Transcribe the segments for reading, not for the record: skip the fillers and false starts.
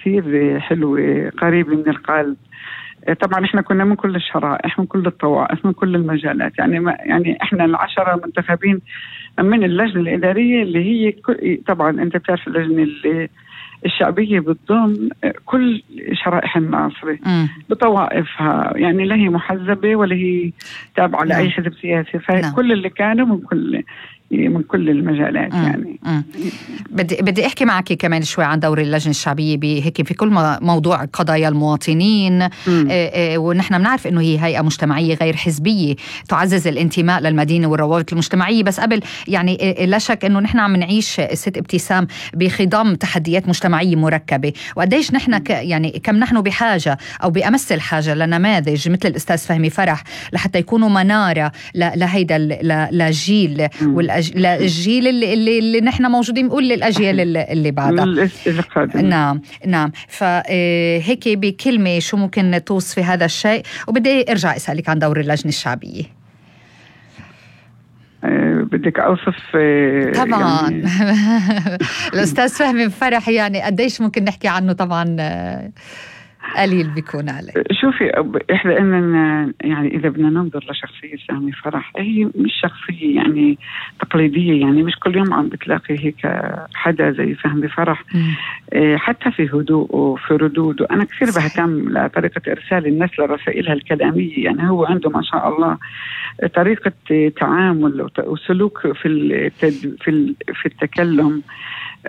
كثير حلوة قريبة من القلب. طبعا احنا كنا من كل الشرائح، من كل الطوائف، من كل المجالات، يعني احنا العشرة منتخبين من اللجنة الإدارية اللي هي طبعا انت بتعرف اللجنة الشعبية بتضم كل شرائح الناصرة بطوائفها، يعني لا هي محزبة ولا هي تابعة لأي حزب سياسي، فكل اللي كانوا من كل المجالات. يعني بدي احكي معك كمان شوي عن دور اللجنة الشعبية هيك في كل موضوع قضايا المواطنين. ونحن بنعرف انه هي هيئة مجتمعية غير حزبية تعزز الانتماء للمدينة والروابط المجتمعية، بس قبل يعني لا شك انه نحن عم نعيش ست ابتسام بخضم تحديات مجتمعية مركبة، وقديش نحن يعني كم نحن بحاجة او بأمس الحاجة لنماذج مثل الأستاذ فهمي فرح لحتى يكونوا منارة لهيدا للجيل الجيل اللي نحن موجودين، نقول للأجيال اللي بعدها. نعم. فهيك بكلمة شو ممكن توصفي هذا الشيء؟ وبدي ارجع اسألك عن دور اللجنة الشعبية. بدك أوصف طبعا يعني الأستاذ فهمي فرح يعني قديش ممكن نحكي عنه؟ طبعا قليل بيكون عليه. شوفي إحنا إننا يعني إذا بدنا ننظر لشخصية فهمي فرح، هي مش شخصية يعني تقليدية، يعني مش كل يوم عم بتلاقي هيك حدا زي فهمي فرح. حتى في هدوءه وفي ردوده أنا كثير بهتم لطريقة إرسال الناس لرسائلها الكلامية، يعني هو عنده ما شاء الله طريقة تعامل وسلوك في التكلم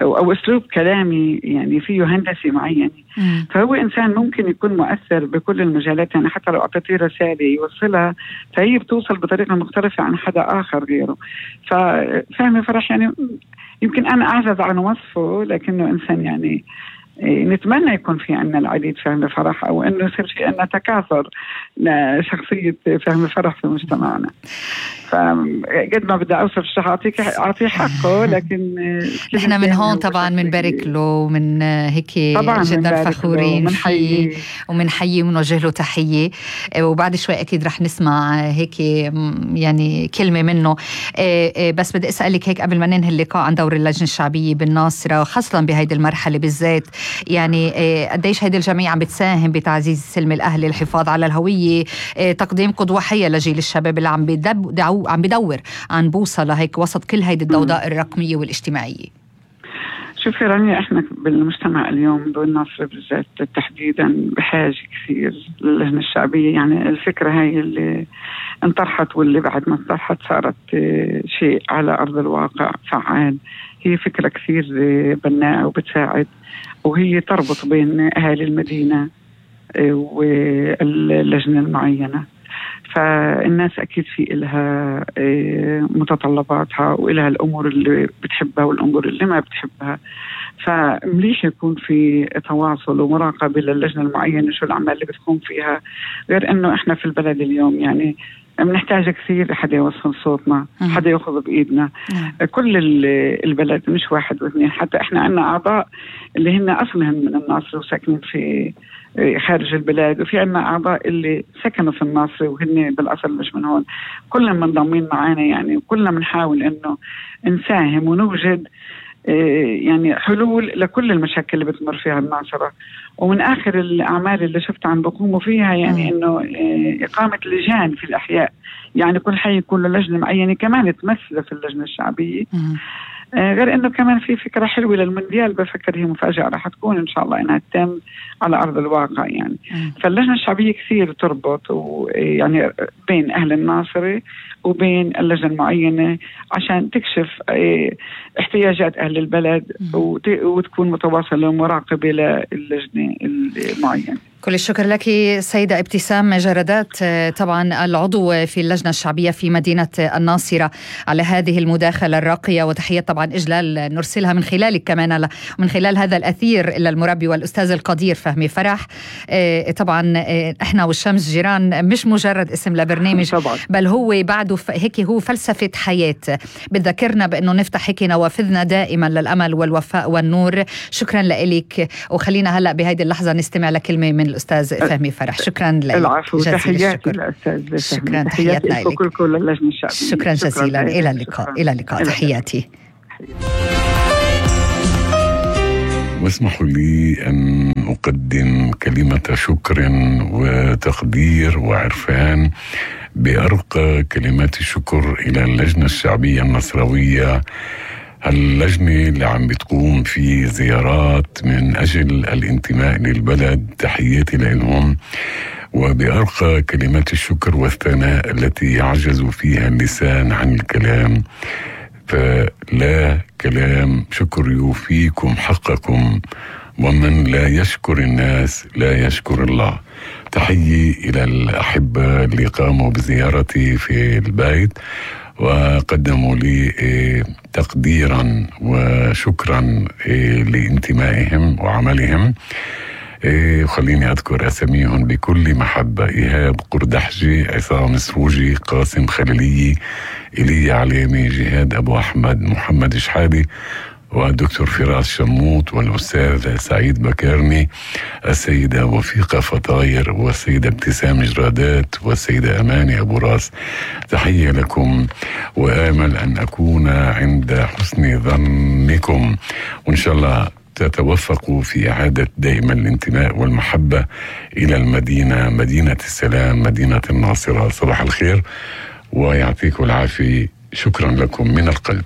أو أسلوب كلامي يعني فيه هندسي معين. فهو إنسان ممكن يكون مؤثر بكل المجالات، يعني حتى لو أعطيتيه رسالة يوصلها فهي بتوصل بطريقة مختلفة عن حدا آخر غيره. ففهمي فرح يعني يمكن أنا أعجز عن وصفه، لكنه إنسان يعني نتمنى يكون في عنا العديد فهمي فرح، أو أنه يصير في عنا تكاثر لشخصية فهمي فرح في مجتمعنا. فقد ما بدي أوصف الشيء أعطيه حقه، لكن نحن من هون طبعا منبارك له، من هيك جدا فخورين فيه ومنحيي ومنوجه له تحية. وبعد شوي أكيد رح نسمع هيك يعني كلمة منه. بس بدي أسألك هيك قبل ما ننهي اللقاء عن دور اللجنة الشعبية بالناصرة، خاصة بهيدي المرحلة بالذات، يعني قديش هيدي الجميع عم بتساهم بتعزيز السلم الأهلي، الحفاظ على الهوية، تقديم قدوة حية لجيل الشباب اللي عم بدور عن بوصلة هيك وسط كل هيدي الضوضاء الرقمية والاجتماعية. شوفي رانيا، احنا بالمجتمع اليوم بالناصر بالذات تحديدا بحاجة كثير للجنة الشعبية. يعني الفكرة هاي اللي انطرحت واللي بعد ما انطرحت صارت شيء على أرض الواقع فعال، هي فكرة كثير بناءة وبتساعد، وهي تربط بين أهالي المدينة واللجنة المعينة. فالناس أكيد في إلها متطلباتها وإلها الأمور اللي بتحبها والأمور اللي ما بتحبها، فمليش يكون في تواصل ومراقبة للجنة المعينة شو الأعمال اللي بتكون فيها. غير أنه إحنا في البلد اليوم يعني بنحتاج كثير حدا يوصل صوتنا، حدا يأخذ بإيدنا. كل البلد مش واحد واثنين، حتى إحنا عنا أعضاء اللي هن أصلهم من الناصر وساكنين في خارج البلاد، وفي عنا أعضاء اللي سكنوا في الناصر وهن بالأصل مش من هون، كلنا منضمين معانا يعني، وكلنا بنحاول إنه نساهم ونوجد يعني حلول لكل المشاكل اللي بتمر فيها الناصرة. ومن آخر الأعمال اللي شفت عن بقوموا فيها يعني إنه إقامة لجان في الأحياء، يعني كل حي يكون له لجنة معينة كمان تمثل في اللجنة الشعبية. غير إنه كمان في فكرة حلوة للمونديال، بفكر هي مفاجأة راح تكون إن شاء الله إنها تتم على أرض الواقع يعني. فاللجنة الشعبية كثير تربط يعني بين أهل الناصرة وبين اللجنة المعينة عشان تكشف احتياجات أهل البلد وتكون متواصلة ومراقبة للجنة المعينة. كل الشكر لك سيدة ابتسام جردات، طبعا العضو في اللجنة الشعبية في مدينة الناصرة، على هذه المداخلة الراقية، وتحية طبعا إجلال نرسلها من خلالك كمان ومن خلال هذا الأثير إلى المربي والأستاذ القدير فهمي فرح. طبعا إحنا والشمس جيران مش مجرد اسم لبرنامج طبعا، بل هو بعده هيك هو فلسفة حياة بتذكرنا بأنه نفتح هيك نوافذنا دائما للأمل والوفاء والنور. شكرا لك، وخلينا هلأ بهذه اللحظة نستمع لكلمة من الأستاذ فهمي فرح. شكرا لك. العفو، تحياتي للأستاذ. شكرا، تحياتنا لك. شكرا جزيلا. إلى اللقاء. إلى اللقاء. تحياتي. واسمحوا لي أن أقدم كلمة شكر وتقدير وعرفان بأرقى كلمات الشكر إلى اللجنة الشعبية النصراوية، اللجنة اللي عم بتقوم في زيارات من أجل الانتماء للبلد. تحياتي لهم، وبأرقى كلمات الشكر والثناء التي يعجز فيها اللسان عن الكلام، فلا كلام شكر يوفيكم حقكم، ومن لا يشكر الناس لا يشكر الله. تحيي إلى الأحبة اللي قاموا بزيارتي في البيت وقدموا لي تقديرا وشكرا لانتمائهم وعملهم. خليني أذكر أساميهم بكل محبة: إيهاب قردحجي، عصام سروجي، قاسم خليلي، إيليا علامي، جهاد أبو أحمد، محمد شحادي، والدكتور فراس شموت، والأستاذ سعيد بكارني، السيدة وفيقة فطاير، والسيدة ابتسام جرادات، والسيدة أماني أبو راس. تحية لكم، وآمل أن أكون عند حسن ظنكم، وإن شاء الله تتوفقوا في إعادة دائما الانتماء والمحبة إلى المدينة، مدينة السلام، مدينة الناصرة. صباح الخير ويعطيكم العافية. شكرا لكم من القلب.